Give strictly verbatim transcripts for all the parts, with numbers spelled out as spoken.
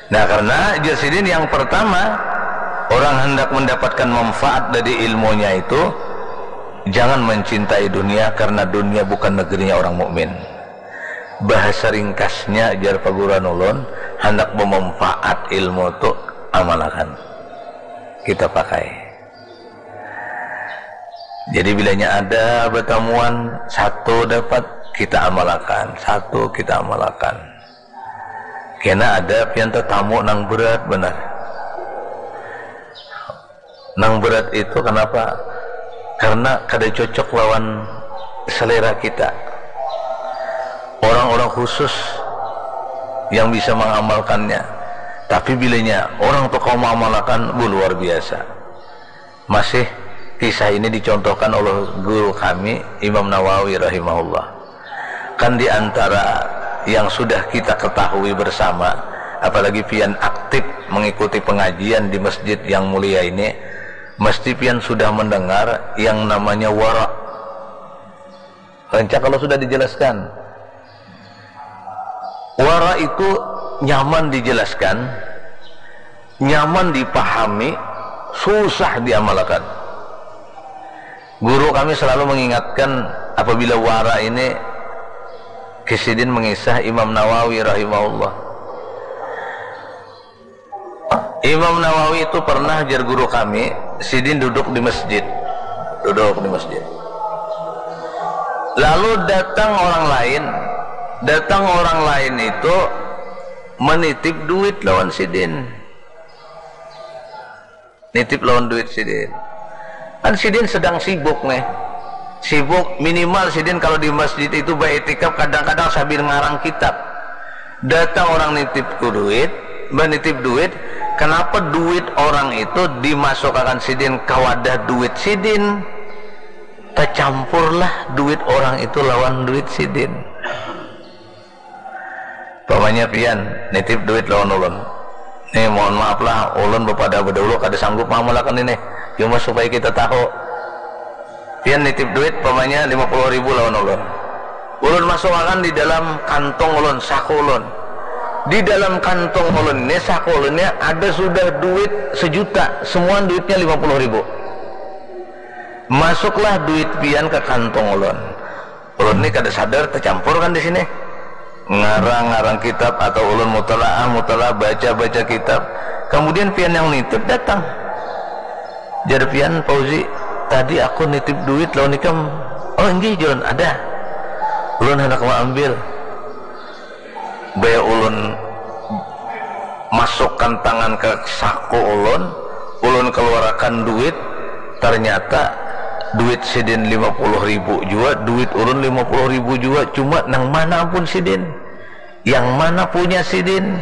Nah, karena jar sidin yang pertama, orang hendak mendapatkan manfaat dari ilmunya itu, jangan mencintai dunia, karena dunia bukan negerinya orang mukmin. Bahasa ringkasnya, jar paguruan ulun, hendak memanfaat ilmu tu, amalakan. Kita pakai. Jadi bilanya ada batamuan, satu dapat, kita amalakan, satu kita amalakan. Kena ada pian tatamu nang berat banar. Nang berat itu kenapa? Karena kada cocok lawan selera kita. Orang-orang khusus yang bisa mengamalkannya. Tapi bilanya orang tu kawa mengamalkan, bu, luar biasa. Masih kisah ini dicontohkan oleh guru kami, Imam Nawawi rahimahullah. Kan di antara yang sudah kita ketahui bersama, apalagi pian aktif mengikuti pengajian di masjid yang mulia ini, mesti pian sudah mendengar yang namanya wara. Rancak kalau sudah dijelaskan. Wara itu nyaman dijelaskan, nyaman dipahami, susah diamalakan. Guru kami selalu mengingatkan apabila wara ini, kisidin mengisah Imam Nawawi rahimahullah. Imam Nawawi itu pernah, jar guru kami, sidin duduk di masjid. Duduk di masjid. Lalu datang orang lain. Datang orang lain itu menitip duit lawan sidin. Nitip lawan duit sidin. Kan sidin sedang sibuk nih. Sibuk, minimal sidin kalau di masjid itu baiktikaf, kadang-kadang sambil ngarang kitab. Datang orang nitip ku duit, menitip duit, kenapa duit orang itu dimasukakan sidin ke wadah duit sidin? Tercampurlah duit orang itu lawan duit sidin. Pamanya pian nitip duit lawan ulun. Nih, mohon maaf lah, ulun bepada bedahulu kada sanggup mamulakan ini. Cuma supaya kita tahu. Pian nitip duit, pamanya lima puluh ribu lawan ulun. Ulun masukakan di dalam kantong ulun, saku ulun. Di dalam kantong ulun ini, saku ulun ini ada sudah duit sejuta, semua duitnya lima puluh ribu. Masuklah duit pian ke kantong ulun. Ulun ni kada sadar tercampur kan di sini. Ngarang-ngarang kitab atau ulun mutalaah, mutalaah, baca-baca kitab. Kemudian pian yang nitip datang. Jar pian, Fauzi, tadi aku nitip duit lawan ikam. Oh, inggih, Jon, ada. Ulun hendak maambil. Baya ulun masukkan tangan ke saku ulun, ulun keluarakan duit, ternyata duit sidin lima puluh ribu jua, duit ulun lima puluh ribu jua, cuma nang mana ampun sidin? Yang mana punya sidin?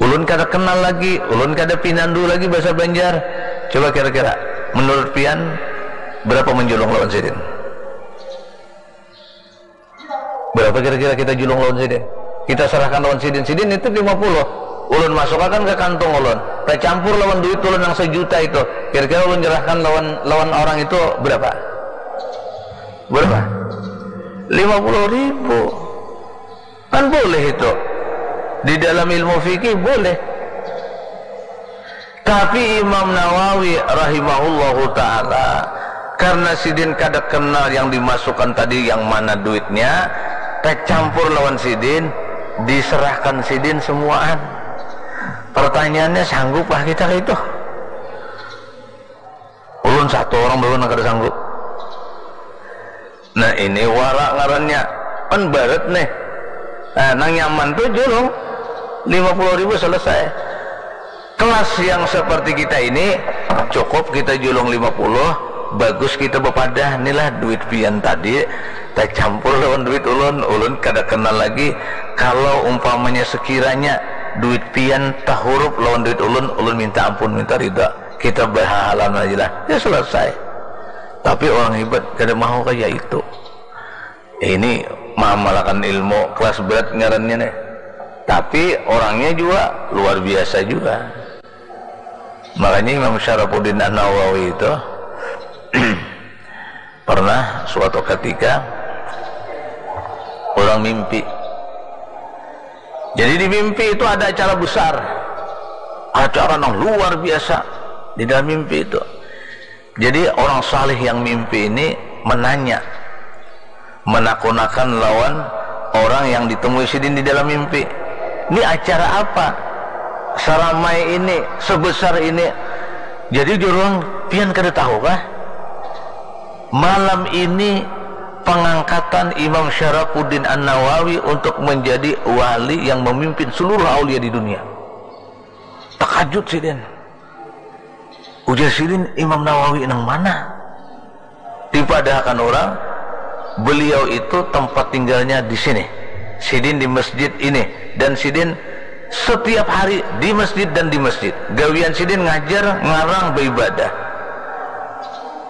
Ulun kada kenal lagi, ulun kada pinandu lagi bahasa Banjar. Coba kira-kira, menurut pian, berapa menjulung lawan sidin? Berapa kira-kira kita julung lawan sidin? Kita serahkan lawan sidin. Sidin nitip lima puluh. Ulun masukakan ke kantong ulun. Tercampur lawan duit ulun yang sejuta itu. Kira-kira ulun serahkan lawan lawan orang itu berapa? Berapa? Lima puluh ribu. Kan boleh itu. Di dalam ilmu fikih boleh. Tapi Imam Nawawi rahimahullahu ta'ala, karena sidin kada kenal yang dimasukkan tadi yang mana duitnya, tercampur lawan sidin, diserahkan sidin semuaan. Pertanyaannya, sanggup lah kita itu? Ulun satu orang belum kada sanggup. Nah, ini wara ngarannya. Kan barat nih. Nah, nang nyaman tuh julung lima puluh ribu selesai. Kelas yang seperti kita ini cukup kita julung lima puluh, bagus kita bepadah, inilah duit pian tadi tercampur lawan duit ulun, ulun kada kenal lagi. Kalau umpamanya sekiranya duit pian tahurup lawan duit ulun, ulun minta ampun, minta ridha. Kita berhahalan aja lah. Ya selesai. Tapi orang hebat kada mau kayak itu. Ini mamalakan ilmu kelas berat ngarannya nih. Tapi orangnya juga luar biasa juga. Makanya Imam Syarafuddin An-Nawawi itu pernah suatu ketika orang mimpi. Jadi di mimpi itu ada acara besar, acara yang luar biasa di dalam mimpi itu. Jadi orang saleh yang mimpi ini menanya, menakunakan lawan orang yang ditemui sidin di dalam mimpi. Ini acara apa? Seramai ini, sebesar ini. Jadi jurung pian kada tahu kah? Malam ini pengangkatan Imam Syarafuddin An-Nawawi untuk menjadi wali yang memimpin seluruh aulia di dunia. Takajut sidin. Ujar sidin, Imam Nawawi nang mana? Dipadahakan orang, beliau itu tempat tinggalnya di sini. Sidin di masjid ini. Dan sidin setiap hari di masjid dan di masjid. Gawian sidin ngajar, ngarang, beribadah.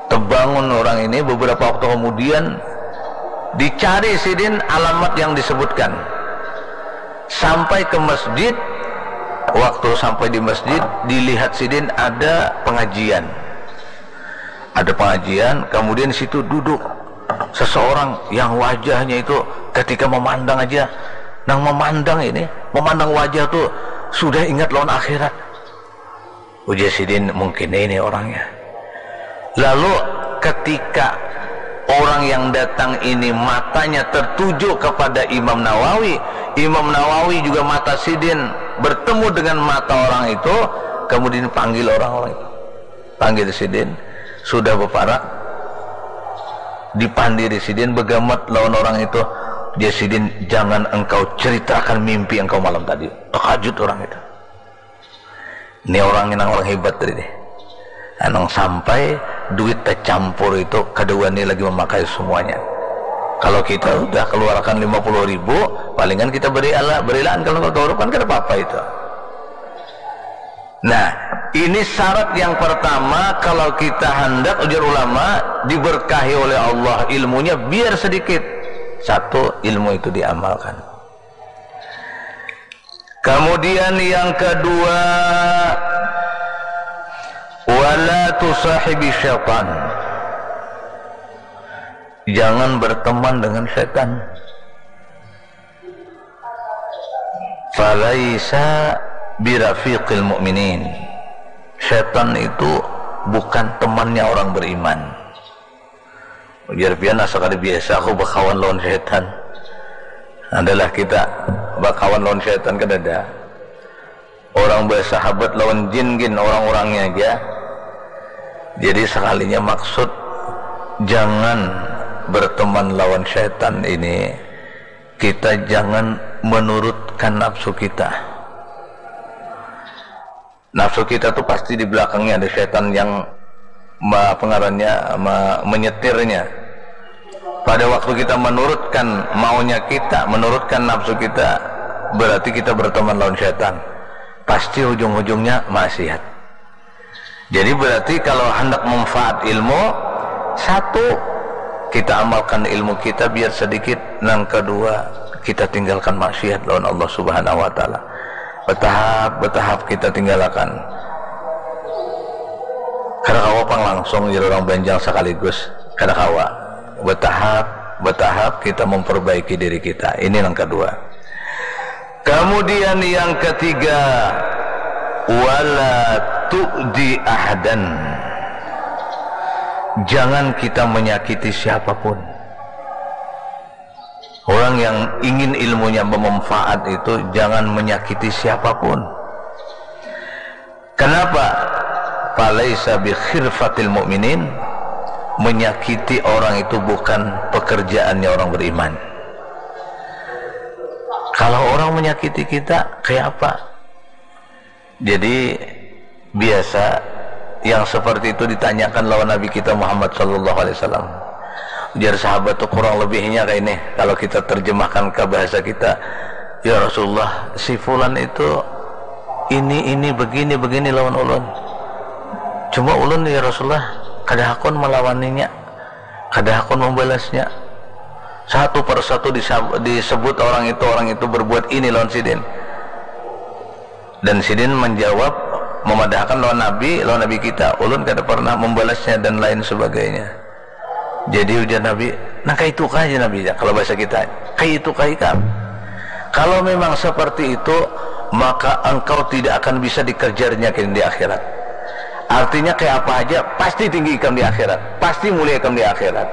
Tebangun orang ini, beberapa waktu kemudian dicari sidin alamat yang disebutkan. Sampai ke masjid, waktu sampai di masjid, dilihat sidin ada pengajian. Ada pengajian, kemudian situ duduk seseorang yang wajahnya itu ketika memandang aja, nang memandang ini, memandang wajah tuh sudah ingat lawan akhirat. Ujar sidin, mungkin ini orangnya. Lalu ketika orang yang datang ini matanya tertuju kepada Imam Nawawi, Imam Nawawi juga mata sidin bertemu dengan mata orang itu, kemudian panggil orang-orang itu. Panggil sidin, sudah beparak, dipandiri sidin, begamat lawan orang itu. Dia sidin, jangan engkau ceritakan mimpi engkau malam tadi. Terkajut orang itu. Ini orang nang orang hebat tadi nih. Anang sampai duit tercampur itu, kedua ini lagi memakai semuanya. Kalau kita udah keluarkan lima puluh ribu, palingan kita beri ala, berilaan kalau nggak kan kada apa-apa itu. Nah, ini syarat yang pertama, kalau kita hendak, ujar ulama, diberkahi oleh Allah ilmunya, biar sedikit. Satu, ilmu itu diamalkan. Kemudian yang kedua, wala tusahibi syaitan. Jangan berteman dengan setan. Falaisa birafiqil mu'minin. Setan itu bukan temannya orang beriman. Ujar pian, asa kada biasa aku bakawan lawan setan. Adalah kita bakawan lawan setan, kada ada. Orang bersahabat lawan jin gin orang-orangnya aja. Jadi sekalinya maksud jangan berteman lawan setan ini, kita jangan menurutkan nafsu kita. Nafsu kita tuh pasti di belakangnya ada setan yang ma-, apa ngarannya, ma-, menyetirnya. Pada waktu kita menurutkan maunya kita, menurutkan nafsu kita, berarti kita berteman lawan setan. Pasti ujung-ujungnya maksiat. Jadi berarti kalau hendak manfaat ilmu, satu, kita amalkan ilmu kita biar sedikit, nang kedua, kita tinggalkan maksiat lawan Allah Subhanahu wa Ta'ala. Betahap, betahap kita tinggalkan. Kada kawa pang langsung jadi orang banjang sekaligus. Kada kawa. Betahap, betahap kita memperbaiki diri kita. Ini yang kedua. Kemudian yang ketiga, wala tu'di ahadan. Jangan kita menyakiti siapapun. Orang yang ingin ilmunya bermanfaat itu jangan menyakiti siapapun. Kenapa? Falaisa bi khirfatil mu'minin, menyakiti orang itu bukan pekerjaannya orang beriman. Kalau orang menyakiti kita, kayak apa? Jadi biasa yang seperti itu ditanyakan lawan Nabi kita Muhammad sallallahu alaihi wasallam. Ujar sahabat tuh kurang lebihnya kayak ini, kalau kita terjemahkan ke bahasa kita, "Ya Rasulullah, si fulan itu ini, ini, begini, begini lawan ulun. Cuma ulun, ya Rasulullah, kada hakun melawaninya, kada hakun membalasnya." Satu persatu disab-, disebut orang itu, orang itu berbuat ini lawan sidin. Dan sidin menjawab, memadahakan lawan Nabi, lawan Nabi kita, ulun kada pernah membalasnya dan lain sebagainya. Jadi ujar Nabi, nah, kayak itu kah aja Nabi, ya, kalau bahasa kita, kayak itu kah ikam? Kalau memang seperti itu, maka engkau tidak akan bisa dikejarnya kini di akhirat. Artinya, kayak apa aja, pasti tinggi ikam di akhirat, pasti mulia ikam di akhirat.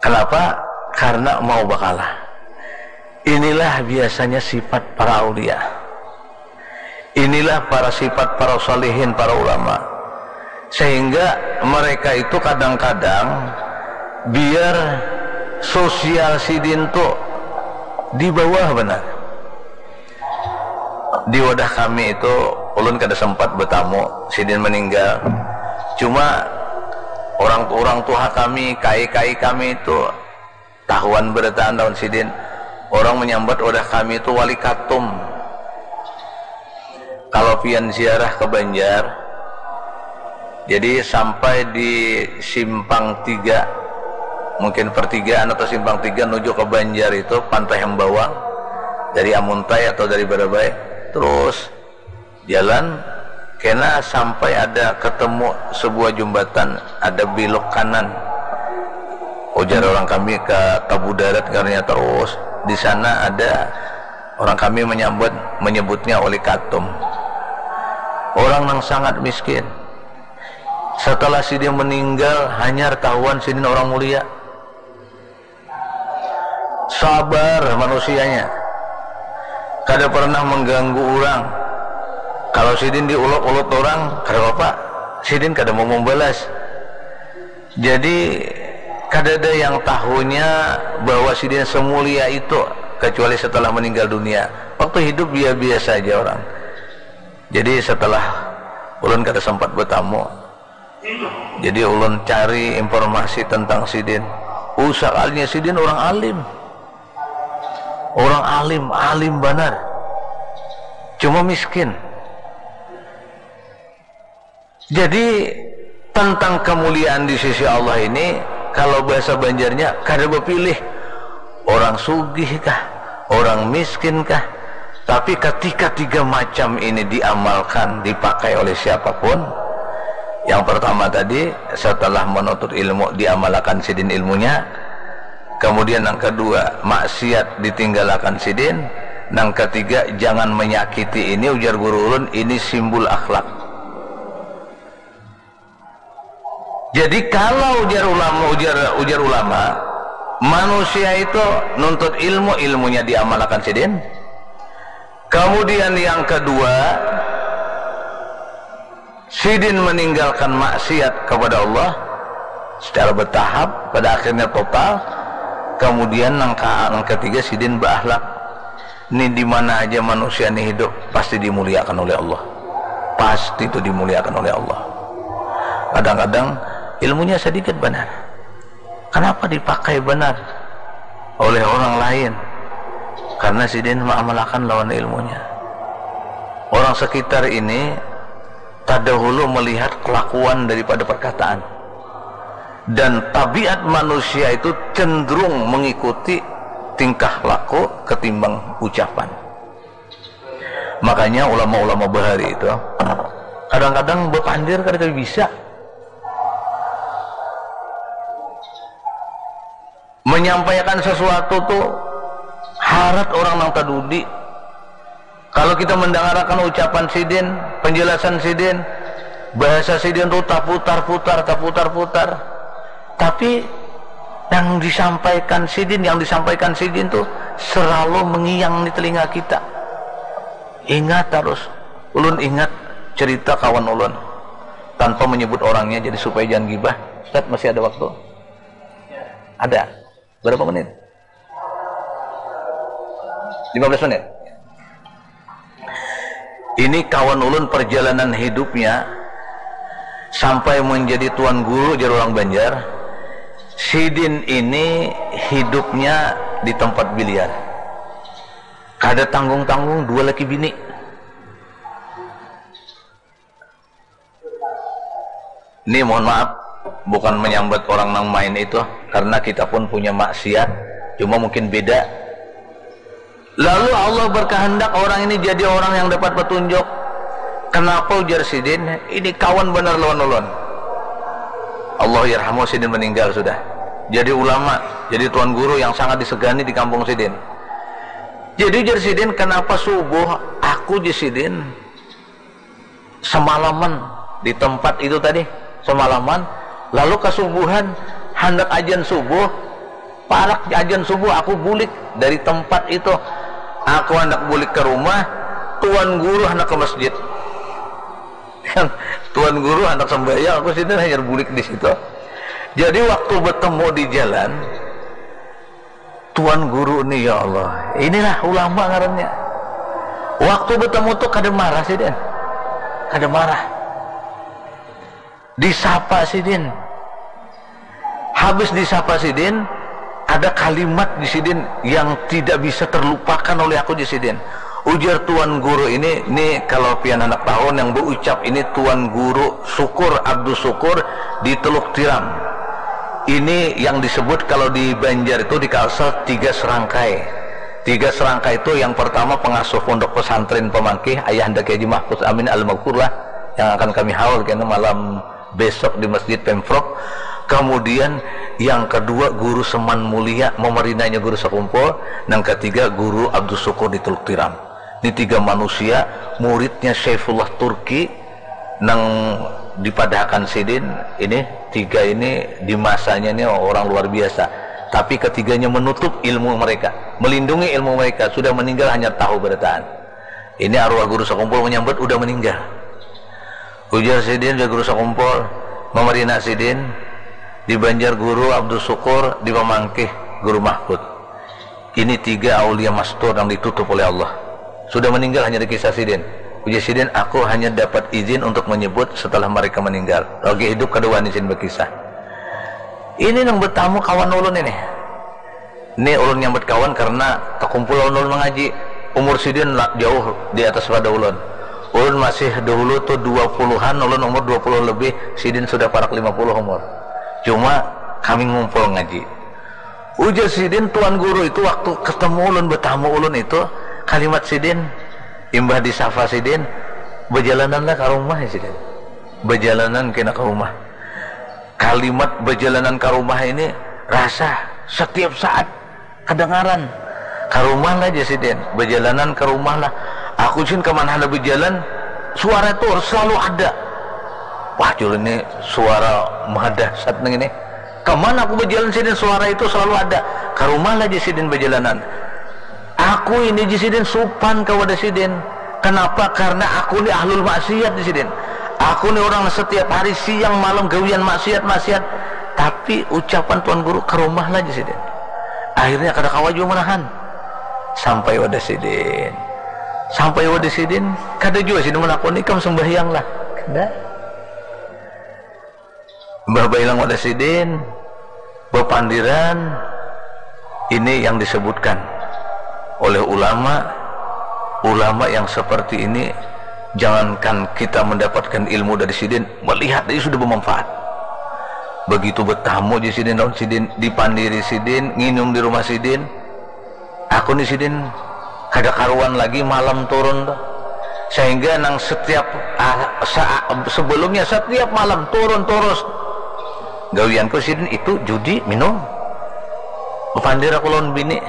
Kenapa? Karena mau bakalah. Inilah biasanya sifat para aulia. Inilah para sifat para salihin, para ulama. Sehingga mereka itu kadang-kadang biar sosial sidin tu di bawah banar. Di wadah kami itu, ulun kada sempat betamu, sidin meninggal. Cuma orang, orang tuha kami, kai-kai kami itu tahuan berataan lawan sidin. Orang menyambat wadah kami itu Wali Katum. Kalau pian ziarah ke Banjar, jadi sampai di simpang tiga, mungkin pertigaan atau simpang tiga nuju ke Banjar itu, Pantai Hembawang, dari Amuntai atau dari Barabai, terus jalan kena sampai ada ketemu sebuah jembatan, ada belok kanan. Ujar orang kami ke Tabu Darat, karena terus di sana ada orang kami menyambut, menyebutnya Wali Katum. Orang yang sangat miskin. Setelah sidin meninggal, hanyar tahuan sidin orang mulia. Sabar manusianya. Kada pernah mengganggu orang. Kalau sidin diulok-ulok orang, kada apa-apa. Sidin kada mau membalas. Jadi, kada ada yang tahunya bahwa sidin semulia itu, kecuali setelah meninggal dunia. Waktu hidup biasa-biasa aja orang. Jadi, setelah ulun kada sempat bertamu, jadi ulun cari informasi tentang sidin. Usah kalinya sidin orang alim. Orang alim, alim banar. Cuma miskin. Jadi, tentang kemuliaan di sisi Allah ini, kalau bahasa Banjarnya, kada bapilih orang sugih kah, orang miskin kah. Tapi ketika tiga macam ini diamalkan, dipakai oleh siapapun, yang pertama tadi, setelah menuntut ilmu, diamalkan sidin ilmunya. Kemudian yang kedua, maksiat ditinggalakan sidin. Yang ketiga, jangan menyakiti. Ini ujar guru ulun, ini simbol akhlak. Jadi kalau ujar ulama, ujar, ujar ulama, manusia itu nuntut ilmu, ilmunya diamalkan sidin. Kemudian yang kedua, sidin meninggalkan maksiat kepada Allah secara bertahap, pada akhirnya total. Kemudian yang ke-, yang ketiga, sidin berakhlak. Ini di mana aja manusia ini hidup, pasti dimuliakan oleh Allah. Pasti itu dimuliakan oleh Allah. Kadang-kadang ilmunya sedikit banar. Kenapa dipakai banar oleh orang lain? Karena sidin mengamalkan lawan ilmunya. Orang sekitar ini terdahulu melihat kelakuan daripada perkataan. Dan tabiat manusia itu cenderung mengikuti tingkah laku ketimbang ucapan. Makanya ulama-ulama bahari itu kadang-kadang bapandir kada bisa menyampaikan sesuatu tu harat orang nang tadudi. Kalau kita mendangarakan ucapan sidin, penjelasan sidin, bahasa sidin tu taputar-putar, taputar-putar. Tapi yang disampaikan sidin, yang disampaikan sidin tu selalu mengiang di telinga kita. Ingat terus. Ulun ingat cerita kawan ulun. Tanpa menyebut orangnya, jadi supaya jangan gibah. Ustaz, masih ada waktu? Ada. Berapa menit? Lima belas menit. Ini kawan ulun, perjalanan hidupnya sampai menjadi tuan guru, jar orang Banjar. Sidin ini hidupnya di tempat biliar. Kada tanggung-tanggung, dua laki bini. Ini mohon maaf, bukan menyambat orang nang main itu, karena kita pun punya maksiat, cuma mungkin beda. Lalu Allah berkehendak orang ini jadi orang yang dapat petunjuk. Kenapa, ujar sidin? Ini kawan banar lawan ulun. Allah yarhamu, sidin meninggal sudah. Jadi ulama, jadi tuan guru yang sangat disegani di kampung sidin. Jadi ujar sidin, kenapa subuh aku, jar sidin, semalaman di tempat itu tadi, semalaman, lalu kasubuhan, handak ajan subuh, parak ajan subuh aku bulik dari tempat itu, aku handak bulik ke rumah, tuan guru handak ke masjid. Tuan guru handak sembahyang, aku sidin hanyar bulik di situ. Jadi waktu bertemu di jalan, tuan guru ni, ya Allah, inilah ulama ngarannya. Waktu bertemu tu kada marah sidin, kada marah. Disapa sidin. Habis disapa sidin, ada kalimat di sidin yang tidak bisa terlupakan oleh aku, jar sidin. Ujar tuan guru ini, ni kalau pian handak tahu, yang berucap ini tuan guru Sukur, Abdus Sukur di Teluk Tiram. Ini yang disebut kalau di Banjar itu di Kalsel tiga serangkai. Tiga serangkai itu, yang pertama pengasuh pondok pesantren Pamangkih, ayahanda Kiai Haji Mahfud Amin Al-Maghfur lah, yang akan kami haul kena malam besok di Masjid Pemprov. Kemudian yang kedua guru Seman Mulia, mamarinanya guru Sakumpul. Yang ketiga guru Abdus Sukur di Teluk Tiram. Ini tiga manusia, muridnya Syaifullah Turki, nang dipadahakan sidin. Ini tiga ini di masanya ini orang luar biasa. Tapi ketiganya menutup ilmu mereka, melindungi ilmu mereka. Sudah meninggal hanya tahu berataan. Ini arwah guru Sakumpul menyambat udah meninggal. Ujar sidin, ujar guru Sakumpul, mamarina sidin di Banjar guru Abdus Sukur, di Pamangkih guru Mahfud. Ini tiga aulia mastur yang ditutup oleh Allah. Sudah meninggal hanya dikisah sidin. Ujar sidin, aku hanya dapat izin untuk menyebut setelah mereka meninggal. Lagi hidup kada wani sidin berkisah. Ini nang bertamu kawan ulun ini. Ni ulun nyambat kawan karena takumpul lawan ulun mangaji. Umur sidin la-, jauh di atas pada ulun. Ulun masih dahulu tu dua puluhan, ulun umur dua puluh lebih, sidin sudah parak lima puluh umur. Cuma kami ngumpul ngaji. Ujar sidin, tuan guru itu waktu ketemu ulun, betamu ulun itu, kalimat sidin, imbah disapa sidin, "Bajalananlah ka rumah," ya sidin. Bajalanan kena ka rumah. Kalimat bajalanan ka rumah ini rasa setiap saat kadangaran. "Ka rumah lah," jar sidin, "bajalanan ka rumah lah. Aku, jar, kaman handak bajalan, suara tu selalu ada." Wah, jar ulun, ini suara maha dahsyat nang ini. "Kaman aku bajalan," sidin, "suara itu selalu ada." "Ka rumah lah," jar sidin, "bajalanan." "Aku ini," jar sidin, "supan kawa dah sidin. Kenapa? Karena aku ni ahlul maksiat," jar sidin. "Aku ni orang setiap hari siang malam gawian maksiat, maksiat. Tapi ucapan tuan guru, ka rumah lah," jar sidin. Akhirnya kada kawa jua menahan. Sampai wadah sidin. Sampai wadah sidin, kada jua sidin menakuni, "Ikam sembahyang lah." Kada. Mbah bailang wadah sidin, bapandiran, ini yang disebutkan oleh ulama. Ulama yang seperti ini, jangankan kita mendapatkan ilmu dari sidin, melihat aja sudah bermanfaat. Begitu bertamu aja sidin, lawan sidin, dipandiri sidin, nginum di rumah sidin, aku ni sidin kada karuan lagi malam turun tuh. Sehingga nang setiap, ah, sa-, sebelumnya setiap malam turun terus. Gawianku sidin itu judi, minum. Pandir aku lawan bini.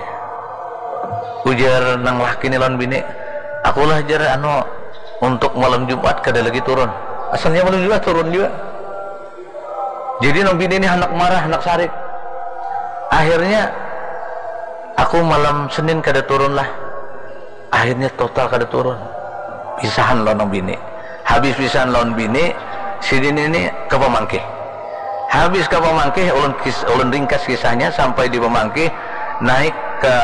Ujar nang laki ni lawan bini, "Akulah," jar, "anu, untuk malam Jumat kada lagi turun." Asalnya malam Jumat turun juga. Jadi nang bini ni handak marah, handak sarik. Akhirnya, "Aku malam Senin kada turun lah." Akhirnya total kada turun. Pisahan lawan nang bini. Habis pisahan lawan bini, sidin ini ka Pamangkih. Habis ka Pamangkih, ulun kis-, ulun ringkas kisahnya, sampai di Pamangkih, naik ke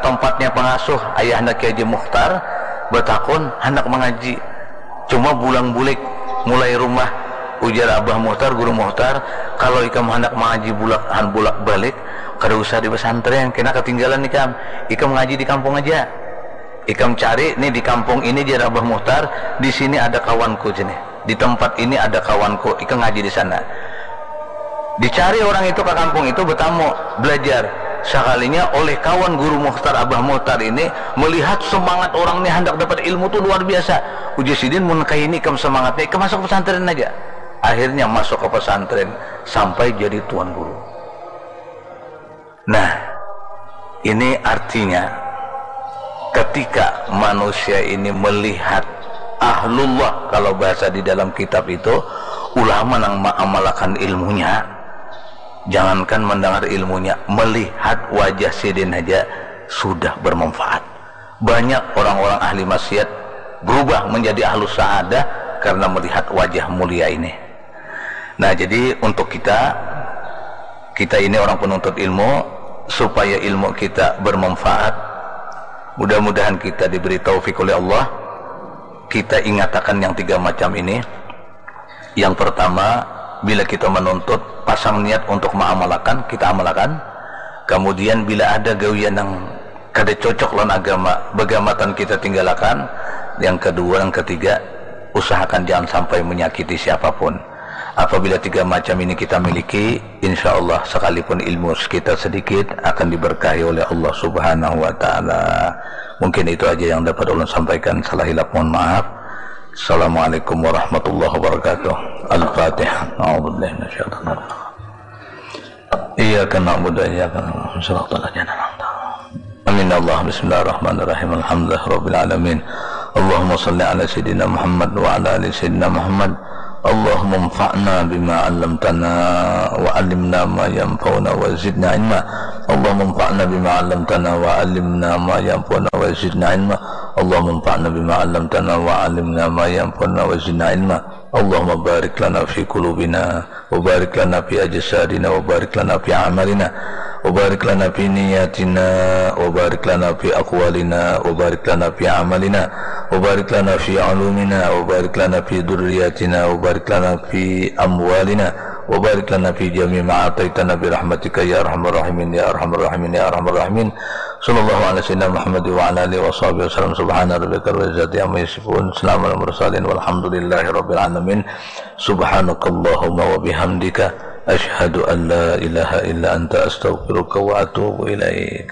tempatnya pengasuh, ayahanda Kiai Haji Mukhtar, batakun, handak mangaji. Cuma bulang-bulik, mulai rumah. Ujar Abah Muhtar, Guru Muhtar, "Kalau ikam handak mangaji bulak, han bulak-balik, kada usah di pesantren, kena katinggalan ikam. Ikam ngaji di kampung aja. Ikam cari nih di kampung ini," jar Abah Muhtar, "di sini ada kawanku sini. Di tempat ini ada kawanku, ikam ngaji di sana." Dicari orang itu ka kampung itu, betamu, belajar. Sakalinya oleh kawan Guru Muhtar, Abah Muhtar ini, melihat semangat orang ni handak dapat ilmu tu luar biasa. Ujar sidin, "Mun kaya ini ikam semangatnya, ikam masuk pesantren aja." Akhirnya masuk ke pesantren sampai jadi tuan guru. Nah, ini artinya ketika manusia ini melihat ahlullah, kalau bahasa di dalam kitab itu, ulama nang mengamalkan ilmunya, jangankan mendengar ilmunya, melihat wajah sidin saja sudah bermanfaat. Banyak orang-orang ahli maksiat berubah menjadi ahlu saadah karena melihat wajah mulia ini. Nah, jadi untuk kita, kita ini orang penuntut ilmu, supaya ilmu kita bermanfaat, mudah-mudahan kita diberi taufik oleh Allah. Kita ingatakan yang tiga macam ini. Yang pertama, bila kita menuntut, pasang niat untuk mengamalkan, kita amalkan. Kemudian, bila ada gawian yang kada cocok lawan agama, begamatan kita tinggalakan. Yang kedua, yang ketiga, usahakan jangan sampai menyakiti siapapun. Apabila tiga macam ini kita miliki, insya Allah, sekalipun ilmu kita sedikit, akan diberkahi oleh Allah Subhanahu wa Ta'ala. Mungkin itu aja yang dapat ulun sampaikan. Salah hilap, mohon maaf. Assalamualaikum warahmatullahi wabarakatuh. Al-Fatihah. A'udzubillahi minasyaitonir rajim. Iyyaka na'budu wa iyyaka nasta'in. Shiratal ladzina an'amta 'alaihim. Amin ya Allah. Bismillahirrahmanirrahim. Alhamdulillahirabbil alamin. Allahumma shalli ala sayyidina Muhammad wa ala ali sayyidina Muhammad. Allahumma anfa'na bima 'allamtana wa 'allimna ma yanfa'una wa zidna ilma. Allahumma anfa'na bima 'allamtana wa 'allimna ma yanfa'una wa zidna ilma. Allahumma anfa'na bima 'allamtana wa 'allimna ma yanfa'una wa zidna ilma. Allahumma barik lana fi qulubina, wa barik lana fi ajsadina, wa barik lana fi a'malina, wa barik lana fi niyatina, wa barik lana fi aqwalina, wa barik lana fi amalina, wa barik lana fi ulumina, wa barik lana fi dzurriyyatina, wa barik lana fi amwalina, wa barik lana fi jami' ma a'taitana bi rahmatika ya arhamar rahimin, ya arhamar rahimin, ya arhamar rahimin. Sallallahu ala sayyidina Muhammad wa ala alihi wa sahbihi wasallam. Subhana rabbika rabbil izzati amma yasifun. Salamun alal mursalin walhamdulillahi rabbil alamin. Subhanakallahumma wa bihamdika, asyhadu an la ilaha illa anta, astaghfiruka wa atubu ilaik.